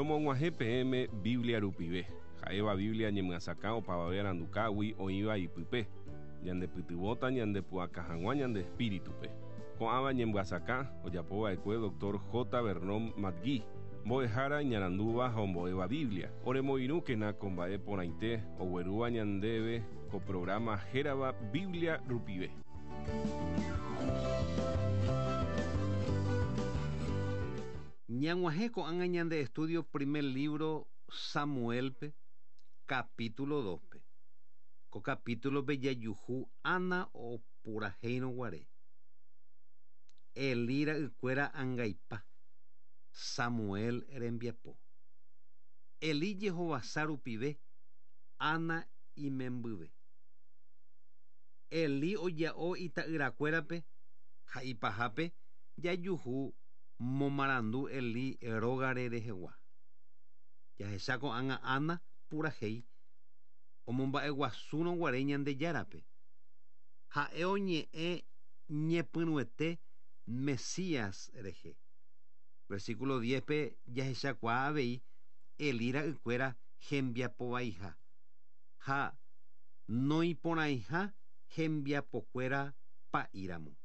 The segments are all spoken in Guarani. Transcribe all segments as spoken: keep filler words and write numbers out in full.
Romog̃uahẽ peẽme Biblia rupive, ha'éva Biblia ñemyasakã opavave arandukágui oĩva ipype, ñandepytyvõta ñandepu'aka hag̃ua ñande espíritupe. Ko'ãva ñemyasakã ojapova'ekue doctor J. Vernon McGee, mbo'ehára iñarandúva ha ombo'éva Biblia. Oremoirũkena ko mba'e porãite oguerúva ñandéve ko programa hérava Biblia rupive. Ñag̃uahẽ ko'ág̃a ñande estudio primer libro Samuelpe, capítulo dospe. Ko capítulope jajuhu Ana opurahéirõ guare. Elí ra'ykuéra angaipa, Samuel rembiapo. Elí jehovasa rupive, Ana imembyve. Elí oja'o ita'yrakuérape ha ipahápe jajuhu momarandu Elí rógare rehegua. Jahecha ko'ág̃a Ana purahéi omomba'eguasúrõ guare Ñandejárape. Ha'e oñe'ẽ ñepyrũete Mesías rehe. Versículo diezpe jahechakuaa avei Elí ra'ykuéra hembiapovaiha ha noiporãiha hembiapokuéra pa'íramo.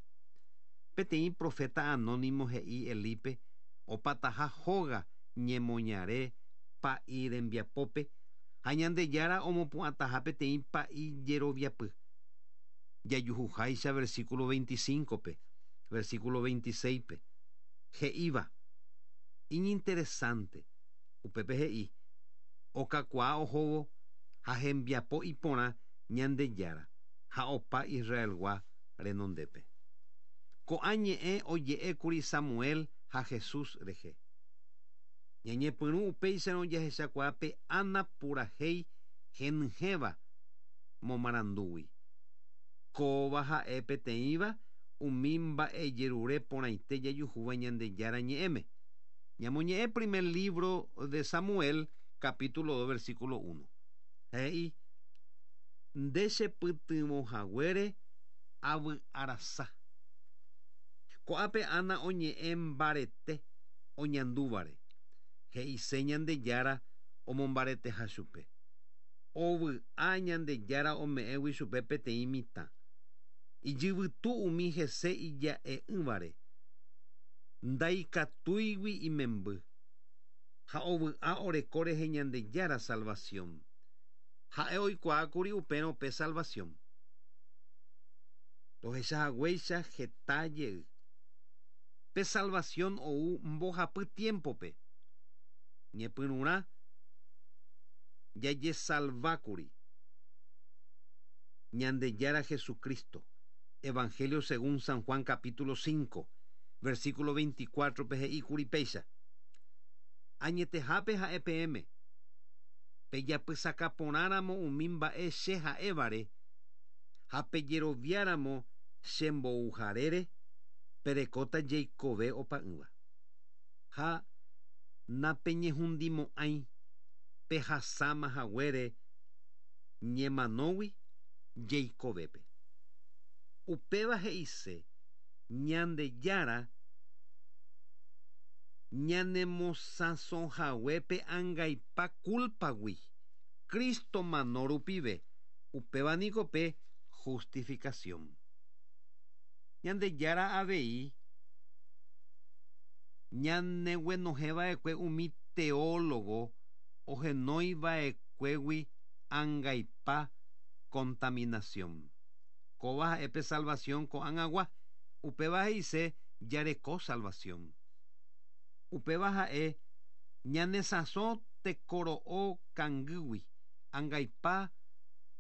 Peteĩ profeta anónimo he'i Elípe opataha hóga ñemoñare pa'i rembiapópe ha Ñandejára omopu'ãtaha peteĩ pa'i jeroviapy. Jajuhuháicha versículo veinticincope, versículo veintiséispe he'íva iñinteresante upépe he'i okakuaa ohóvo ha hembiapo iporã Ñandejára ha opa Israelgua renondépe. Ko'ã ñe'ẽ oje'ékuri Samuel ha Jesús rehe. Ñañepyrũ upéicharõ jahechakuaa Ana purahéi henyhẽva momarandúgui. Kóva ha'e peteĩva umi mba'ejerure porãite jajuhúva Ñandejára ñe'ẽme. Ñamoñe'ẽ primer libro de Samuel, capítulo dos, versículo uno. He'i, nde chepytyvõhaguére avy'arasa. Ko'ápe Ana oñe'ẽ mbarete oñandúvare. He'ise Ñandejára omombareteha chupe. Ovy'a Ñandejára ome'ẽgui chupe peteĩ mitã. Ijyvytu umi hese ija'e'ỹvare. Ndaikatúigui imemby. Ha ovy'a oreko rehe Ñandejára salvación. Ha'e oikuaákuri upérõ pe salvación. Rohechahaguéicha heta jey. Pe salvación ou mbohapy tiempope. Ñepyrũrã jajesalvákuri. Ñandejára Jesucristo. Evangelio según San Juan capítulo cinco, versículo veinticuatro pe he'íkuri péicha. Añetehápe ha'e peẽme. Pejapysakaporãramo umi mba'e che ha'évare ha pejeroviáramo chembouharére perekóta jeikove opa'ỹva. Ha napeñehundimo'ãi pehasáma haguére ñemanógui jeikovépe. Upéva he'ise Ñandejára ñanemosãsohaguépe angaipa culpagui Cristo mano rupive. Upéva niko pe justificación. Ñandejára avei ñaneguenohẽva'ekue umi teólogo ohenóiva'ekuégui angaipa contaminación. Kóva ha'e pe salvación ko'ág̃agua. Upéva he'ise jareko salvación. Upéva ha'e ñanesãso tekoro'o kangýgui angaipa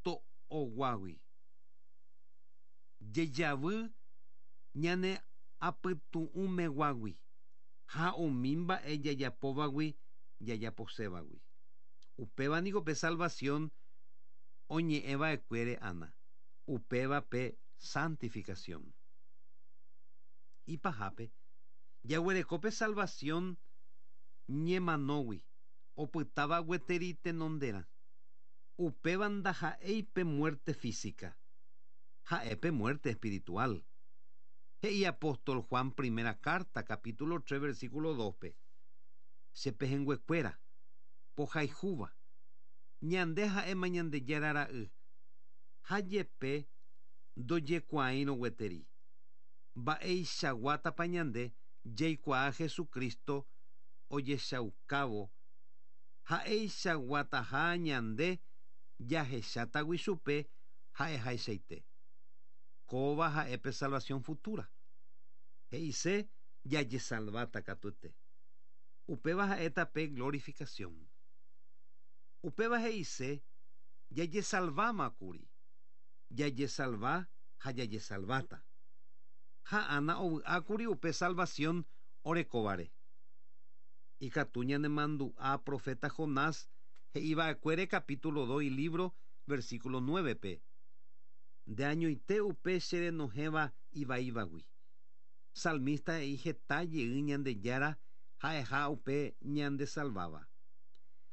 to'oguágui. Jejavy ñane apytu'ũmeguágui ha umi mba'e jajapóvagui jajaposévagui. Upéva niko pe salvación oñe'ẽva'ekuére Ana. Upéva pe santificación. Ipahápe jaguereko pe salvación ñemanógui opytáva gueteri tenonderã. Upéva ndaha'éi pe muerte física, ha'e pe muerte espiritual. He'i apóstol Juan primera carta capítulo tres versículo dospe. Che pehẽnguekuéra Pohayhúva. Ñande ha'éma Ñandejára ra'y. Ha jepe ndojekuaáirõ gueteri. Mba'eichaguátapa ñande jaikuaa Jesucristo ojechaukávo ha'eichaguataha ñande jahechátagui chupe ha'ehaichaite. Kóva ha'e pe salvación futura. He'ise jajesalváta katuete. Upéva ha'éta pe glorificación. Upéva he'ise jajesalvámakuri. Jajesalva ha jajesalváta. Ha Ana ovy'ákuri upe salvación orekóvare. Ikatu ñanemandu'a profeta Jonás he'iva'ekuére capítulo dos libro versículo nueve pe. Nde añoite upe cherenohẽva ivaívagui. Salmista he'i heta jey Ñandejára ha'eha upe ñandesalváva.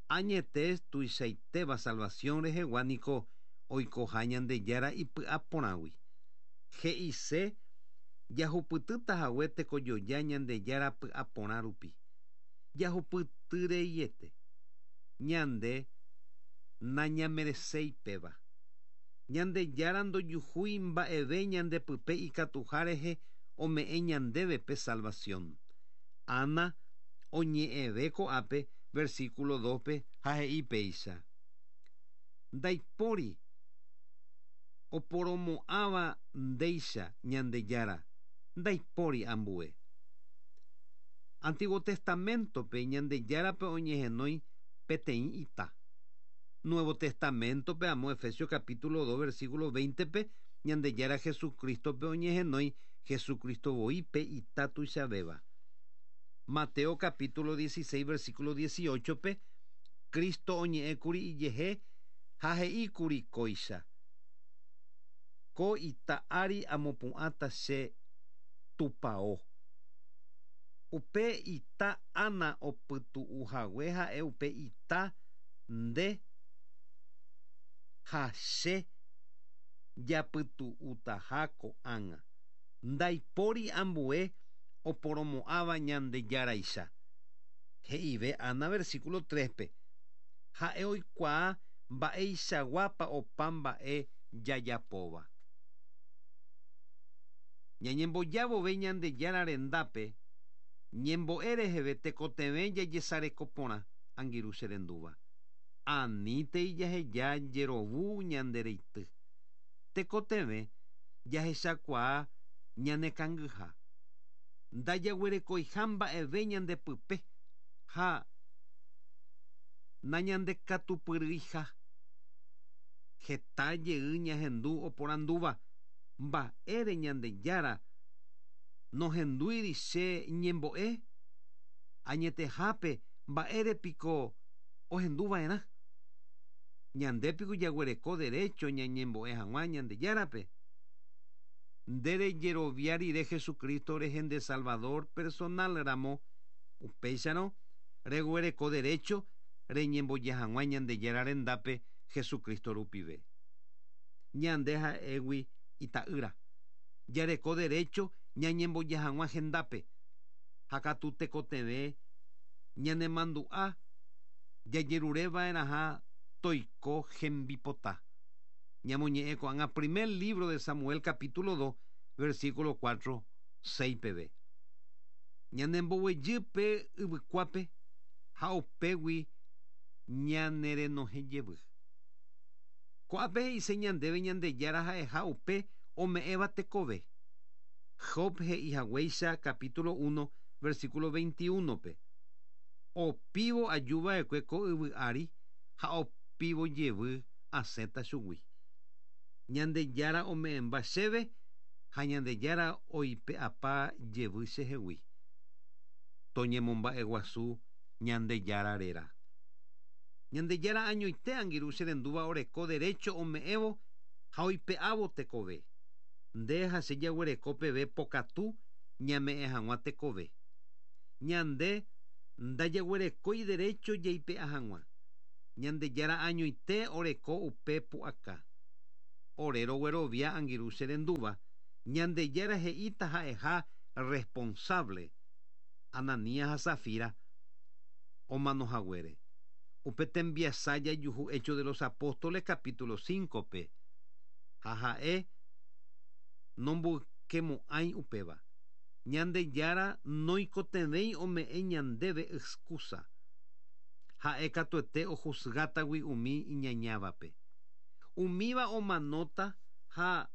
Añete tuichaitéva salvación rehegua niko oikoha Ñandejára ipy'aporãgui. He'ise jahupytýta hague tekojoja Ñandejára py'aporã rupi. Jahupytyreiete. Ñande nañamereséipeva. Ñandejára ndojuhúi mba'eve ñandepype ikatuha rehe ome'ẽ ñandéve pe salvación. Ana oñe'ẽve ko'ápe versículo dos pe ha he'i péicha. Ndaipóri oporomo'ãva ndéicha Ñandejára, ndaipóri ambue. Antiguo Testamento-pe Ñandejárape oñehenói peteĩ ita. Nuevo Testamento-pe amo Efesios capítulo dos versículo veinte pe Ñandejára Jesucristo-pe oñehenói Jesucristo voi pe ita tuichavéva. Mateo capítulo dieciséis versículo dieciocho pe Cristo oñe'ẽkuri ijehe ha he'íkuri kóicha. Ko ita ári amopu'ãta che tupão. Upe ita Ana opytu'uhague ha'e upe ita nde ha che japytu'utaha ko'ág̃a. Ndaipóri ambue oporomo'ãva Ñandejáraicha. He'ive Ana versículo tres pe. Ha'e oikuaa mba'eichaguápa opa mba'e jajapóva. Ñañembojavove Ñandejára rendápe, ñembo'e reheve tekotevẽ jajesarekoporã angirũ che rendúva. Anítei jaheja jerovu ñandereity. Tekotevẽ jahechakuaa ñanekangyha. Ndajaguerekoiha mba'eve ñandepype ha nañandekatupyryiha. Heta jey ñahendu oporandúva mba'ére Ñandejára nohendúiri che ñembo'e añetehápe mba'érepiko ohenduva'erã. Ñandépiko jaguereko derecho ñañembo'e hag̃ua Ñandejárape. Nde rejerovia rire Jesucristo rehe nde Salvador personal ramo upéicharõ reguereko derecho reñemboja hag̃ua Ñandejára rendápe Jesucristo rupive. Ñande ha'égui ita'ýra. Jareko derecho ñañemboja hag̃ua hendápe. Ha katu tekotevẽ ñanemandu'a jajerureva'erãha toiko hembipota. Ñamoñe'ẽ ko'ág̃a primer libro de Samuel capítulo dos versículo cuatro seis peve. Ñanemboguejýpe yvykuápe ha upégui ñanerenohẽ jevy. Ko'ápe he'ise ñandéve Ñandejára ha'eha upe ome'ẽva tekove. Job he'ihaguéicha capítulo uno versículo veintiuno pe. Opívo ajuva'ekue ko yvy ári ha opívo jevy asẽta chugui. Ñandejára ome'ẽmba chéve ha Ñandejára oipe'apa jevy chehegui. Toñemomba'eguasu Ñandejára réra. Ñandejára añoite angirũ che rendúva oreko derecho ome'ẽvo ha oipe'ávo tekove. Nde ha che jaguereko peve pokatu ñame'ẽ hag̃ua tekove. Ñande ndajaguerekói derecho jaipe'a hag̃ua. Ñandejára añoite oreko upe pu'aka. Ore roguerovia angirũ che rendúva Ñandejára he'íta ha'eha responsable Ananías ha Safira omanohaguére. Upe tembiasa jajuhu Hechos de los Apóstoles capítulo cinco pe. Ha ha'e nomboykemo'ãi upéva. Ñandejára noikotevẽi ome'ẽ ñandéve excusa. Ha'e katuete ojuzgátagui umi iñañávape. Umíva omanóta ha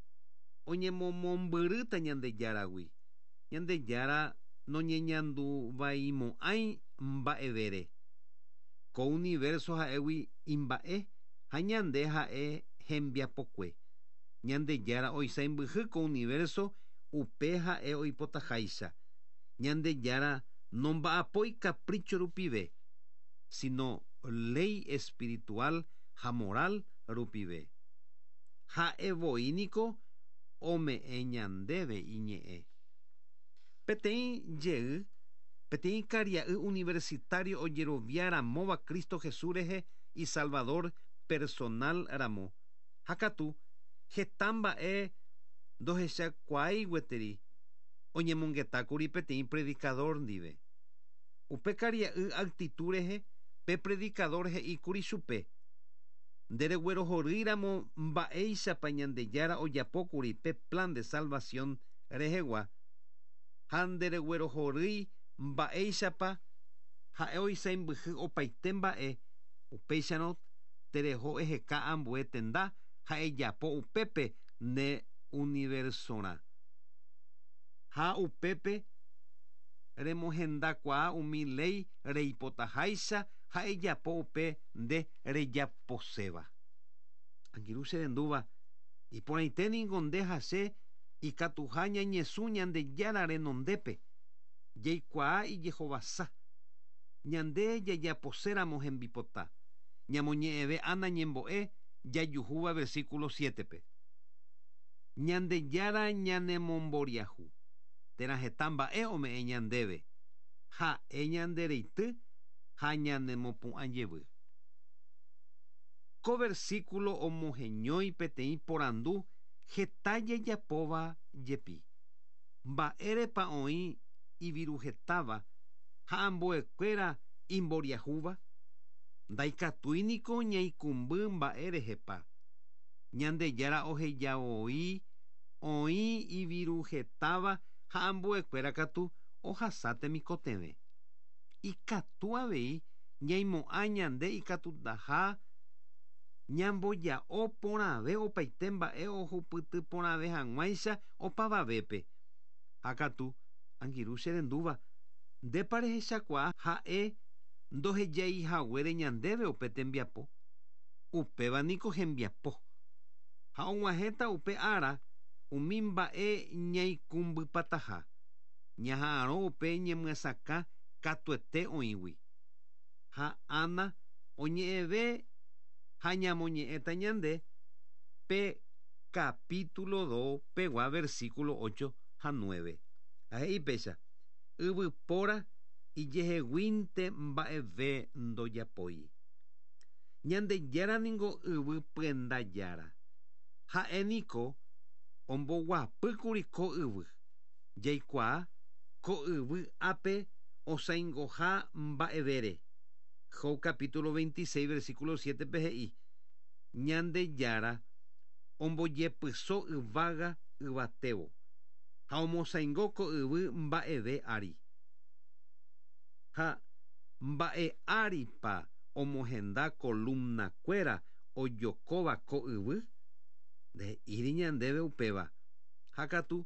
oñemomombyrýta Ñandejáragui. Ñandejára noñeñanduvaimo'ãi mba'evére. Ko universo ha'égui imba'e ha ñande ha'e hembiapokue. Ñandejára oisãmbyhy ko universo upe ha'e oipotaháicha. Ñandejára nomba'apói capricho rupive, sino ley espiritual ha moral rupive. Ha'e voi niko ome'ẽ ñandéve iñe'ẽ. Peteĩ jey, peteĩ karia'y universitario ojeroviaramóva Cristo Jesús rehe y Salvador personal ramo. Ha katu heta mba'e ndohechakuaái gueteri oñemongetákuri peteĩ predicador ndive. Upe karia'y actitud rehe pe predicador he'íkuri chupe. Ndereguerohorýiramo mba'éichapa Ñandejára ojapókuri pe plan de salvación rehegua ha ndereguerohorýi mba'éichapa ha'e oisãmbyhy opaite mba'e upéicharõ tereho eheka ambue tenda ha ejapo upépe ne universorã. Ha upépe remohendakuaa umi ley reipotaháicha ha ejapo upe nde rejaposéva. Angirũ cherendúva iporãite niko nde ha che ikatuha ñañesũ Ñandejára renondépe jaikuaa ijehovasa. Ñande jajaposéramo hembipota. Ñamoñe'ẽve Ana ñembo'e jajuhúva versículo siete pe. Ñandejára ñanemomboriahu térã heta mba'e ome'ẽ ñandéve ha'e ñandereity ha ñanemopu'ã jevy. Ko versículo omoheñói peteĩ porandu heta jajapóva jepi. Mba'érepa oĩ iviruhetáva ha ambuekuéra imboriahúva? Ndaikatúi niko ñaikũmby mba'érehepa. Ñandejára ohejaoi oĩ iviruhetáva ha ambuekuéra katu ohasa temikotevẽ. Ikatu avei ñaimo'ã ñande ikatutaha ñamboja'o porãve opaite mba'e ohupyty porãve hag̃uáicha opavavépe. Ha katu angirũ cherendúva ndépa rehechakuaa ha'e ndohejaihaguére ñandéve upe tembiapo. Upéva niko hembiapo. Ha og̃uahẽta upe ára umi mba'e ñaikũmbypataha. Ñaha'arõ upe ñemyasakã katuete oĩgui. Ha Ana oñe'ẽve ha ñamoñe'ẽta ñande pe capítulo dos pegua versículo ocho ha nueve. Ha he'i péicha yvypóra ijeheguínte mba'eve ndojapói. Ñandejára ningo yvy pyenda jára. Ha'e niko omboguapýkuri ko yvy. Jaikuaa ko yvy ápe osãingoha mba'evére. Job capítulo veintiséis versículo siete pe he'i Ñandejára ombojepyso yvága yvatévo ha omosãingo ko yvy mba'eve ári. Ha mba'e áripa omohenda columnakuéra ojokóva ko yvy? Nde'íri ñandéve upéva. Ha katu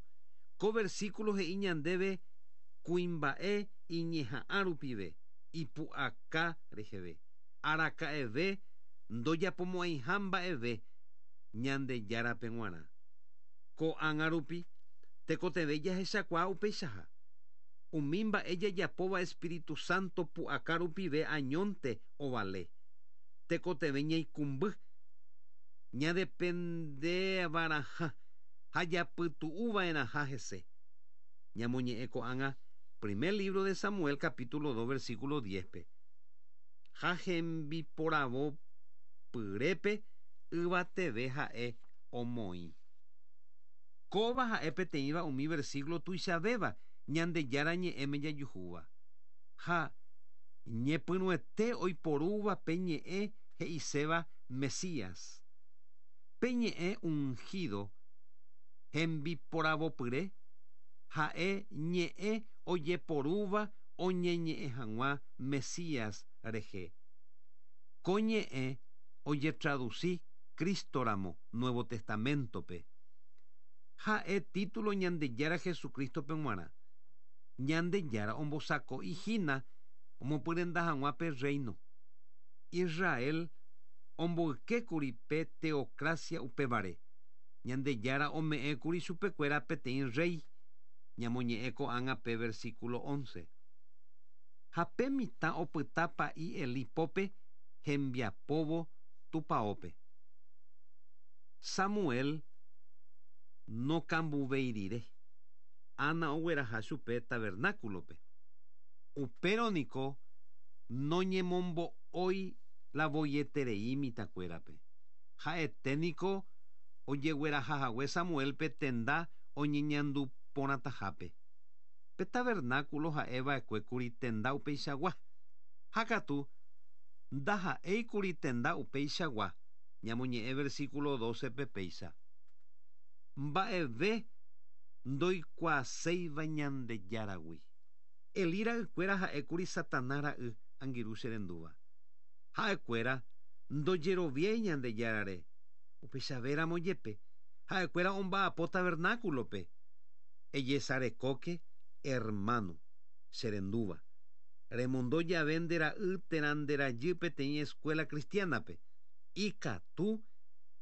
ko versículo he'i ñandéve kuimba'e iñeha'ã rupive ipu'aka reheve. Araka'eve ndojapomo'ãiha mba'eve Ñandejárape g̃uarã. Ko'ág̃a rupi tekotevẽ jahechakuaa upeichaha. Umi mba'e jajapóva Espíritu Santo pu'aka rupive añónte ovale. Tekotevẽ ñaikũmby ñadependeva'erãha ha japytu'uva'erãha hese. Ñamoñe'ẽ ko'ág̃a primer libro de Samuel capítulo dos versículo diez pe. Ha hembiporavo pyrépe yvateve ha'e omoĩ. Kóva ha'e peteĩva umi versículo tuichavéva Ñandejára ñe'ẽme jajuhúva. Ha Ñepyrũete oiporúva pe ñe'ẽ he'iséva Mesías. Pe ñe'ẽ ungido hembiporavopyre ha'e ñe'ẽ ojeporúva oñeñe'ẽ hag̃ua Mesías rehe. Ko ñe'ẽ ojetraduci Cristoramo Nuevo Testamentope. Ha'e título Ñandejára Jesucristope g̃uarã. Ñandejára ombosako'i hína omopyrenda hag̃ua pe reino. Israel omboykékuri pe teocracia upévare. Ñandejára ome'ẽkuri chupekuéra peteĩ rey. Ñamoñe'ẽ ko'ág̃a pe versículo once. Ha pe mitã opyta pa'i Elí pópe hembiapóvo tupãópe. Samuel nokambuvéirire. Ana ogueraha chupe tabernáculope. Upérõ niko noñemombo'ói la voieterei mitãkuérape. Ha'ete niko ojeguerahahague Samuelpe tenda oñeñandu porãtahápe. Pe tabernáculo ha'eva'ekuékuri tenda upeichagua. Ha katu ndaha'éikuri tenda upeichagua. Ñamoñe'ẽ versículo doce pe péicha. Mba'eve ndoikuaaséiva Ñandejáragui. Elí ra'ykuéra ha'ékuri Satanás ra'y angirũ che rendúva. Ha'ekuéra ndojeroviái Ñandejárare. Upeichavéramo jepe ha'ekuéra omba'apo tabernáculope. Ejesarekóke hermano che rendúva. Remondo jave nde ra'y térã nde rajy peteĩ escuela cristianape. Ikatu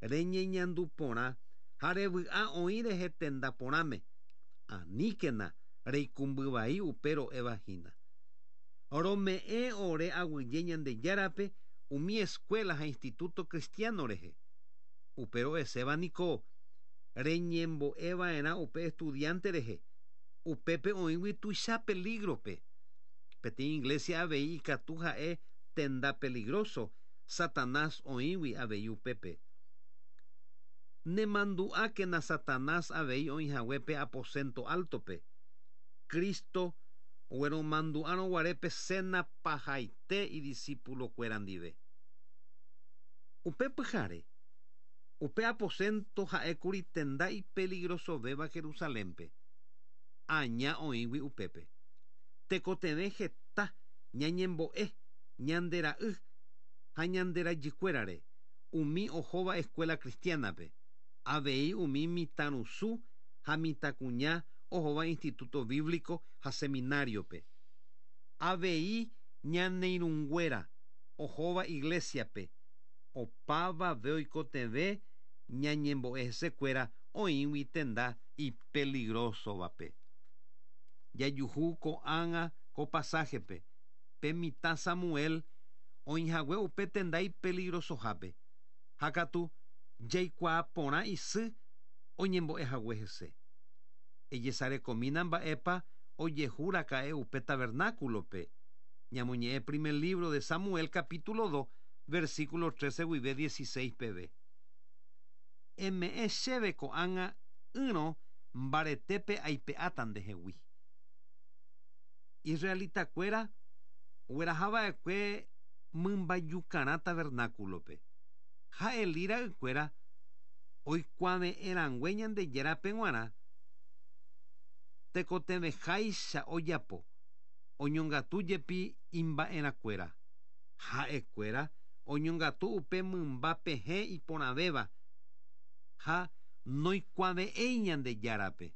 reñeñandu porã ha revy'a oĩ rehe tenda porãme. Aníkena reikũmbyvai upe ro'éva hína. Rome'ẽ ore aguyje Ñandejárape umi escuela ha instituto cristiano rehe. Upe ro'eséva niko reñembo'eva'erã upe estudiante rehe. Upépe oĩgui tuicha peligrope. Peteĩ iglesia avei ikatu ha'e tenda peligroso Satanás oĩgui avei upépe. Nemandu'ákena Satanás avei oĩhaguépe aposento altope. Cristo ogueromandu'árõguare cena pahaite idiscípulokuéra ndive. Upe pyhare, upe aposento ha'ékuri tenda ipeligrosovéva Jerusalénpe. Aña oĩgui upépe. Tekotevẽ heta ñañembo'e ñande ra'y ha ñande rajykuérare umi ohóva escuela cristianape. Avei umi mitãrusu ha mitãkuña ohóva instituto bíblico ha seminariope. Avei ñaneirũnguéra ohóva iglesiape. Opavave oikotevẽ ñañembo'e hesekuéra oĩgui tenda ipeligrosovape. Jajuhu ko'ág̃a ko pasajepe. Pe mitã Samuel oĩhague upe tenda ipeligrosohápe. Ha katu jaikuaa porã isy oñembo'ehague hese. Ejesarekomína mba'épa ojehuraka'e upe tabernáculope. Ñamoñe'ẽ primer libro de Samuel capítulo dos versículo trece guive dieciséis peve. Eme'ẽ chéve ko'ág̃a ỹrõ mbaretépe aipe'áta ndehegui. Israelitakuéra oguerahava'ekue mymbajukarã tabernáculope. Ha Elí ra'ykuéra oikuave'ẽrãngue Ñandejárape g̃uarã tekotevẽháicha ojapo oñongatu jepi imba'erãkuéra. Ha'ekuéra oñongatu upe mymba pehẽ iporãvéva ha noikuave'ẽi Ñandejárape.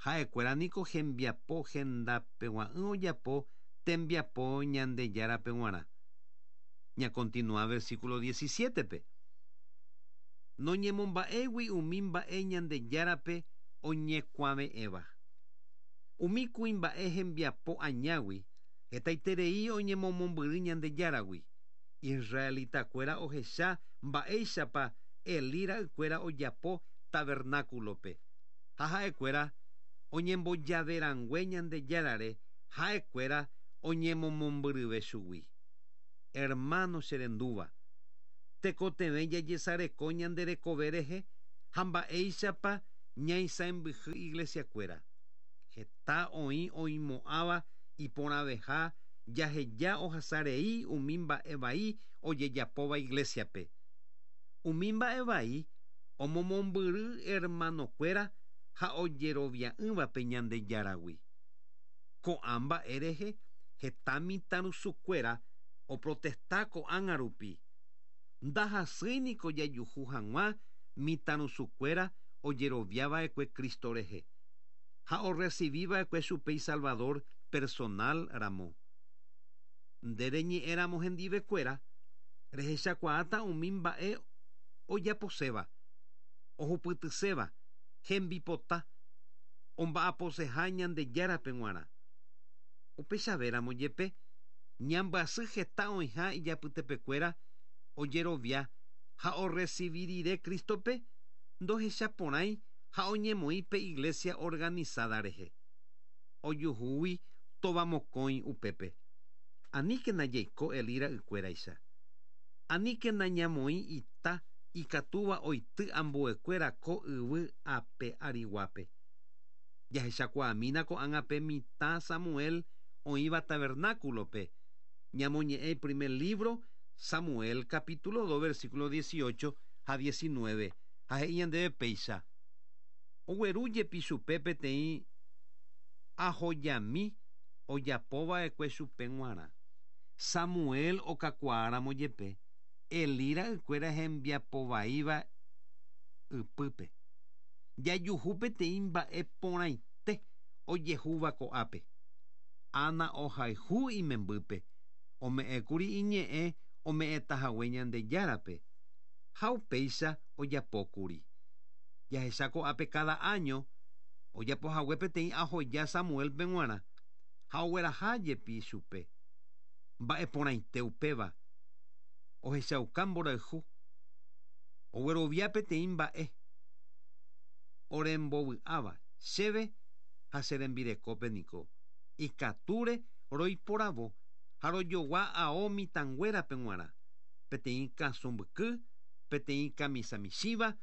Ha'ekuéra niko hembiapo hendapegua'ỹ ojapo tembiapo Ñandejárape g̃uarã. Ñakontinúa versículo diecisiete-pe. Noñemomba'égui umi mba'e Ñandejárape oñekuave'ẽva. Umi kuimba'e hembiapo añágui hetaiterei oñemomombyry Ñandejáragui. Israelitakuéra ohecha mba'éichapa Elí ra'ykuéra ojapo tabernáculope. Ha ha'ekuéra oñembojaverangue Ñandejárare ha'ekuéra oñemomombyryve chugui. Hermano che rendúva, tekotevẽ jajesareko ñande rekove rehe ha mba'éichapa ñaisãmbyhy iglesiakuéra. Heta oĩ oimo'ãva iporãveha Jaheja ohasarei umi mba'e vai ojejapóva iglesiape. Umi mba'e vai omomombyry hermanokuéra ha ojerovia'ỹvape Ñandejáragui. Ko'ã mba'e rehe heta mitãrusukuéra oprotesta ko'ág̃a rupi. Ndahasýiniko jajuhu hag̃ua mitãrusukuéra ojeroviava'ekue Cristo rehe ha orecibiva'ekue chupe Salvador personal ramo. Nde reñe'ẽramo hendivekuéra rehechakuaáta umi mba'e ojaposéva, ohupytyséva, hembipota, omba'aposeha Ñandejárape g̃uarã. Upéichavéramo jepe ñambyasy heta oĩha ijapytepekuéra ojerovia ha orecibi rire Cristope ndohechaporãi ha oñemoĩ pe iglesia organizada rehe. Ojuhúgui tovamokõi upépe. Aníkena jaiko Elí ra'ykuéraicha. Aníkena ñamoĩ ita ikatúva oity ambuekuéra ko yvy ape ariguápe. Jahechakuaamína ko'ág̃a pe mitã Samuel oĩva tabernáculope. Ñamoñe'ẽ primer libro Samuel capítulo dos versículo dieciocho ha diecinueve. Ha he'i ñandéve péicha. Ogueru jepi chupe peteĩ ahojami ojapóva'ekue chupe g̃uarã. Samuel okakuaáramo jepe Elí ra'ykuéra hembiapovaíva ypýpe. Jajuhu peteĩ mba'e porãite ojehúva ko'ápe. Ana ohayhu imembýpe, ome'ẽkuri iñe'ẽ ome'ẽtahague Ñandejárape ha upéicha ojapókuri. Jahecha ko'ápe cada año ojapohague peteĩ ahoja Samuelpe g̃uarã ha ogueraha jepi chupe. Mba'e porãite upéva ohechauka mborayhu, oguerovia peteĩ mba'e orembovy'áva chéve ha che rembirekópe niko. Ikatúre roiporavo ha rojogua ao mitãnguérape g̃uarã, peteĩ kasũ mbyky, peteĩ kamisa michĩva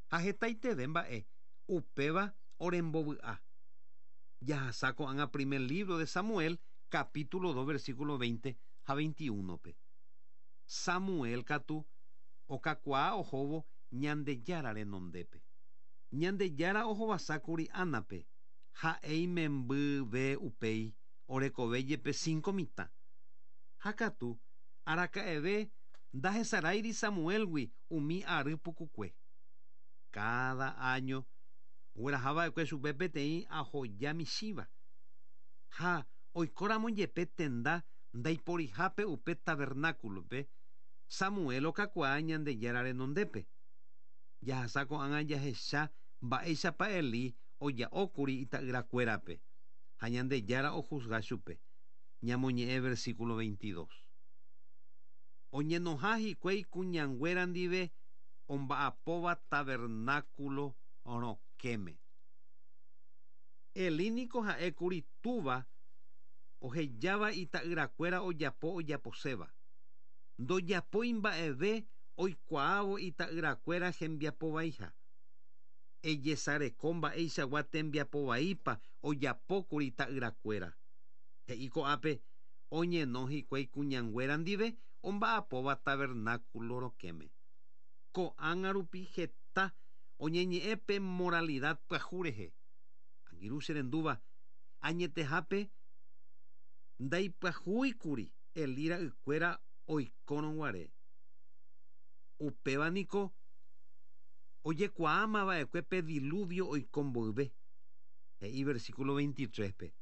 ha hetaiteve mba'e upéva orembovy'a. Jahasa ko'ág̃a primer libro de Samuel capítulo dos versículo veinte ha veintiuno-pe. Samuel katu okakuaa ohóvo Ñandejára renondépe. Ñandejára ohovasákuri Ánape ha'e imembyve upéi orekove jepe cinco mitã. Ha katu araka'eve ndahesaráiri Samuelgui umi ary pukukue. Cada año oguerahava'ekue chupe peteĩ ahoja michĩva. Ha oikóramo jepe tenda ndaiporihápe upe tabernáculope Samuel okakuaa Ñandejára renondépe. Jahasa ko'ág̃a jahecha mba'éichapa Elí oja'ókuri ita'yrakuérape ha Ñandejára ojuzga chupe. Ñamoñe'ẽ versículo veintidós. Oñenoha hikuái kuñanguéra ndive omba'apóva tabernáculo rokẽme. Elí niko ha'ékuri túva ohejáva ita'yrakuéra ojapo ojaposéva. Ndojapói mba'eve oikuaávo ita'yrakuéra hembiapovaiha. Ejesareko mba'eichagua tembiapovaípa ojapókuri ita'yrakuéra. He'i ko'ápe oñeno hikuái kuñanguéra ndive omba'apóva tabernáculo rokẽme. Ko'ág̃a rupi heta oñeñe'ẽ pe moralidad pyahu rehe. Angirũ che rendúva añetehápe ndaipyahúikuri Elí ra'ykuéra oikórõ guare. Upéva niko ojekuaámava'ekue pe diluvio oiko mboyve. He'i versículo veintitrés-pe.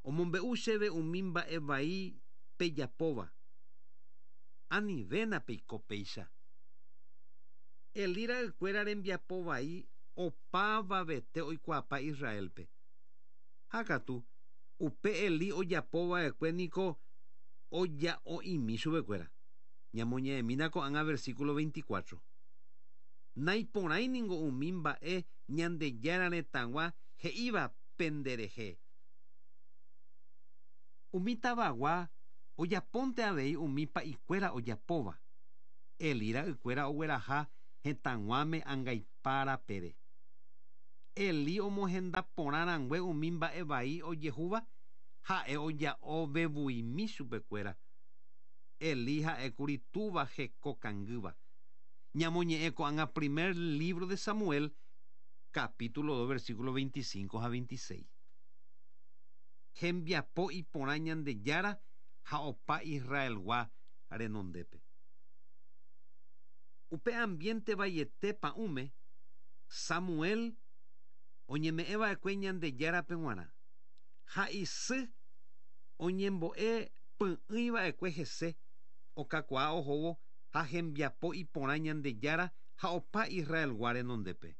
Omombe'u chéve umi mba'e vai pejapóva. Anivéna peiko péicha. Elí ra'ykuéra rembiapovai opavavete oikuaapa Israelpe. Ha katu upe Elí ojapova'ekue niko oja'o'imi chupekuéra. Ñamoñe'ẽmína ko'ág̃a versículo veinticuatro. Naiporãi ningo umi mba'e Ñandejára retãgua he'íva penderehe. Umi tavagua ojapónte avei umi pa'ikuéra ojapóva. Elí ra'ykuéra ogueraha hetãguáme Ha'e oja'o vevuimi chupekuéra. Elí ha'ékuri túva hekokangýva. Ñamoñe'ẽ ko'ág̃a primer libro de Samuel, capítulo dos, versículo veinticinco ha veintiséis. Hembiapo iporã Ñandejára ha opa Israelgua renondépe. Upe ambiente vaiete pa'ũme, Samuel oñeme'ẽva'ekue Ñandejárape g̃uarã. Ha isy oñembo'e py'ỹiva'ekue hese okakuaa ohóvo ha hembiapo iporã Ñandejára ha opa Israelgua renondépe.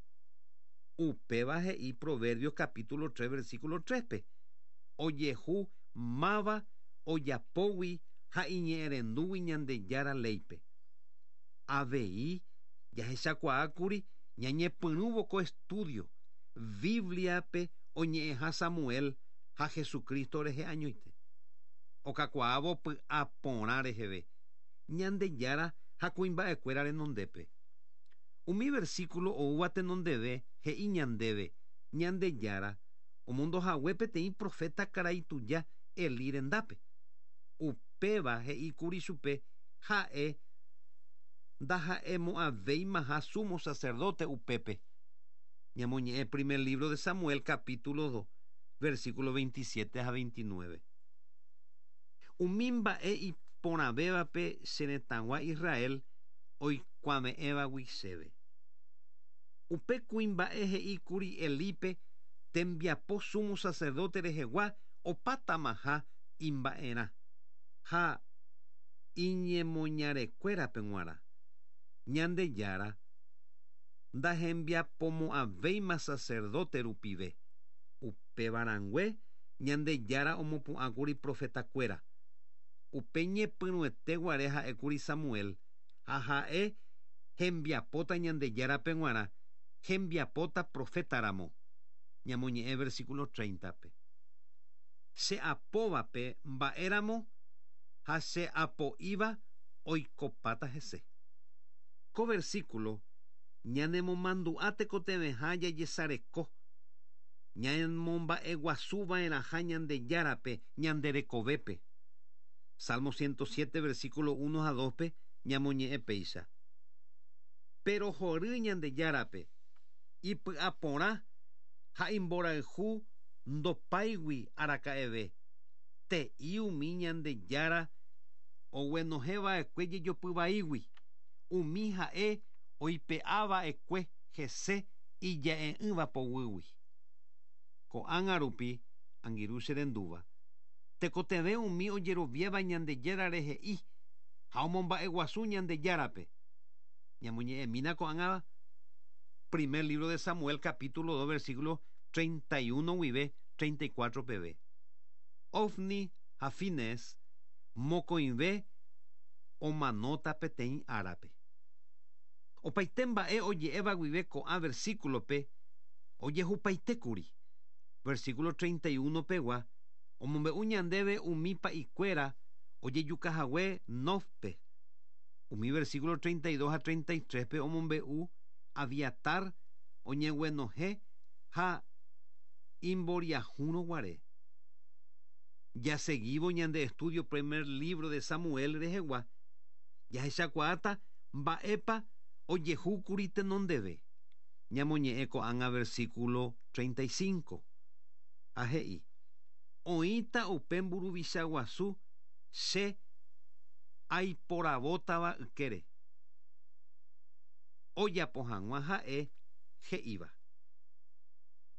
Upéva he'i Proverbios capítulo tres versículo tres-pe. Ojehu máva ojapógui ha iñe'ẽrendúgui Ñandejára léipe. Avei jahechakuaákuri ñañepyrũvo ko estudio Bibliape oñe'ẽha Samuel ha Jesucristo rehe añoite. Okakuaávo py'aporã reheve Ñandejára ha kuimba'ekuéra renondépe. Umi versículo oúva tenondeve he'i ñandéve Ñandejára omondohague peteĩ profeta karai tuja Elí rendápe. Upéva he'íkuri chupe ha'e ndaha'emo'ãvéimaha sumo sacerdote upépe. Ñamoñe'ẽ primer libro de Samuel capítulo dos, versículo veintisiete ha veintinueve. Umi mba'e iporãvévape che retãgua Israel oikuave'ẽvagui chéve. Upe kuimba'e he'íkuri Elípe tembiapo sumo sacerdote rehegua opatamaha imba'erã ha iñemoñarekuérape g̃uarã. Ñandejára ndahembiapomo'ãvéima sacerdote rupive. Upévarãngue Ñandejára omopu'ãkuri profetakuéra. Upe ñepyrũete guare ha'ékuri Samuel ha ha'e hembiapóta Ñandejárape g̃uarã, hembiapóta profetaramo. Ñamoñe'ẽ versículo treinta-pe. Che apóvape mba'éramo ha che apo'íva oikopáta hese. Ko versículo ñanemomandu'a tekotevẽha jajesareko, ñamomba'eguasuva'erãha Ñandejárape ñanderekovépe. Salmo ciento siete, versículo uno a dos-pe ñamoñe'ẽ péicha. Pero hory Ñandejárape ipy'aporã ha imborayhu ndopáigui araka'eve. Te'i umi Ñandejára oguenohẽva'ekue jejopyvaígui. Umi ha'e oipe'ava'ekue hese ija'e'ỹva poguýgui. Ko'ág̃a rupi angirũ che rendúva. Tekotevẽ umi ojeroviáva Ñandejára rehe'i ha omomba'eguasu Ñandejárape. Ñamoñe'ẽmína ko'ág̃a primer libro de Samuel capítulo dos versículo treinta y uno guive treinta y cuatro peve. Ofni ha Finés mokõive omanóta peteĩ árape. Opaite mba'e oje'éva guive ko'ã versículope ojehupaitékuri. Versículo treinta y uno pegua omombe'u ñandéve umi pa'ikuéra ojejukahague Nofpe. Umi versículo treinta y dos a treinta y tres pe omombe'u Abiatar oñeguenohẽ ha imboriahúrõ guare. Jaseguivo ñande estudio primer libro de Samuel rehegua, jahechakuaáta mba'épa ojehúkuri tenondeve. Ñamoñe'ẽ ko'ág̃a versículo treinta y cinco. Ha he'i, oĩta upe mburuvicha guasu che aiporavótava ykére. Ojapo hag̃ua ha'e he'íva.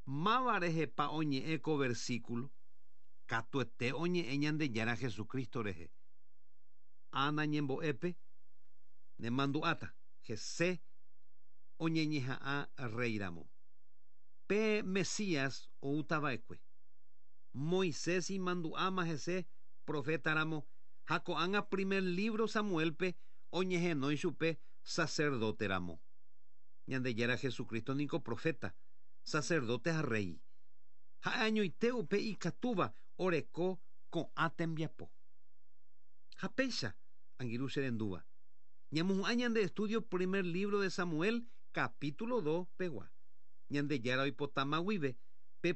Máva rehepa oñe'ẽ ko versículo, katuete oñe'ẽ Ñandejára Jesucristo rehe. Ana ñembo'épe nemandu'áta hese oñeñeha'ã reiramo. Pe Mesías outava'ekue. Moisés imandu'áma hese profetaramo ha ko'ág̃a primer libro Samuelpe oñehenói chupe sacerdoteramo. Ñandejára Jesucristo niko profeta, sacerdote ha rey. Ha'e añoite upe ikatúva oreko ko'ã tembiapo. Ha péicha angirũ che rendúva. Ñamohu'ã ñande estudio primer libro de Samuel capítulo dos pegua. Ñandejára oipotáma guive